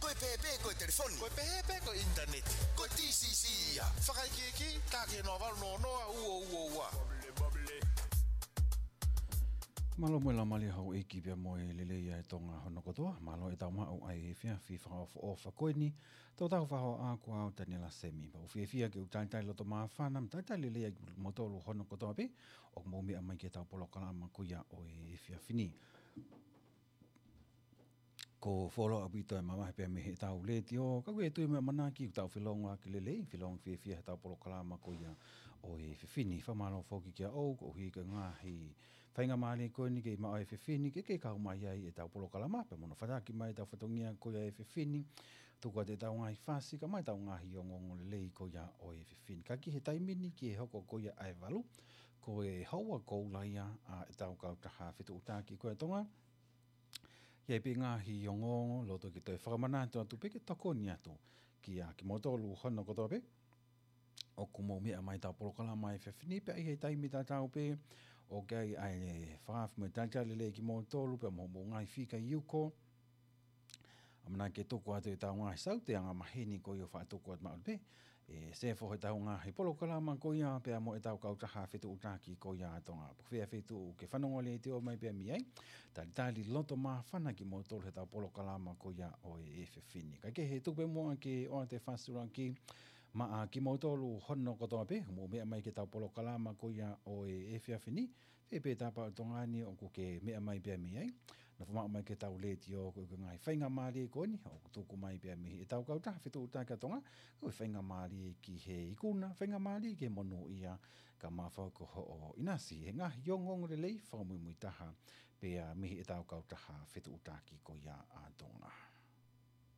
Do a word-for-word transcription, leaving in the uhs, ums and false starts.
Ko e pēpē ko e telefoni. Ko e pēpē ko e ʻinitaneti. Ko e T C C ia. Fakaikiiki, tā ki he noa valu noa noa ua ua ua. Mālō mo e laumālie houʻeiki pea mo e lelei ʻa e Tonga hono kotoa. Mālō e tau maʻu ʻa e efiafi fakaʻofoʻofa ko eni. Tō tau faho a kua au Taniela Semi. Pea ʻoku ou fiefia ke u talitali loto māfana, mo talitali lelei ʻa kimoutolu hono kotoa pē ʻoku mou meʻa mai ki he tau polokalama ko ia ʻo e efiafi ni. Ko e fuoloa ʻaupito e mamahi pea mei he tau letiō, ka ʻoku ou tui mo ʻamanaki ʻoku tau felongoaki lelei, felongoaki fiefia he tau polokalama ko ia ʻo e efiafi ni. Fakamālō foki kia ʻoe, koeʻuhi ko e ngaahi faingamālie ko eni ke maʻu ʻa e efiafi ni, ke ke kau mai ai e tau polokalama, pea mo hono fataki mai e tau fatongia ko ia ʻo e efiafi ni, tuku atu e tau ngaahi fasi, kae ʻumaʻā e tau ngaahi ongoongo lelei ko ia ʻo e efiafi ni. Ka ki he taimi ni ki he hoko ko ia ʻa e valu, ko e houa koula ia ʻa e tau kautaha fetuʻutaki ko ia ʻa Tonga. ʻI ai pē ngaahi ongoongo, loto ke toe fakamanatu atu pē ke tokoni atu kia kimoutolu hono kotoa pē ʻoku mou meʻa mai he tau polokalama ʻo e efiafi ni, pea ʻi he taimi tatau pē ʻoku ʻi ai ʻa e fakaafe mo e talitali lelei kimoutolu pea mo hoʻomou ngaahi fika ʻi ʻuko. ʻAmanaki ke tuku atu e tau ngaahi saute angamaheni ko ia ʻo fakatuku atu maʻu pē e sefo he tau ngaahi polokalama ko ia pea mo e tau kautaha fetuʻutaki ko ia ʻa Tonga. Pe ko fē feituʻu ʻoku ke fanongo letiō mai pea mei ai, talitali loto māfana kimoutolu he tau polokalama ko ia ʻo e efiafi ni. Kae kehe, tuku pē muʻa ke ʻoatu e fakasulaki maʻa kimoutolu hono kotoa pē ʻoku mou meʻa mai ki he tau polokalama ko ia ʻo e efiafi ni. Fē pē tapa ʻo Tonga ni ʻoku ke meʻa mai pea mei ai, nofo maʻu mai ki he tau letiō, ko e ngaahi faingamālie ko eni ʻoku tuku mai pea mei he tau kautaha fetuʻutaki ʻa Tonga, ko e faingamālie ki he ikuna, faingamālie ki he monūʻia, kae ʻumaʻā foki hoʻo ʻinasi he ngaahi ongoongo lelei fakamuimuitaha pea mei he tau kautaha fetuʻutaki ko ia ʻa Tonga.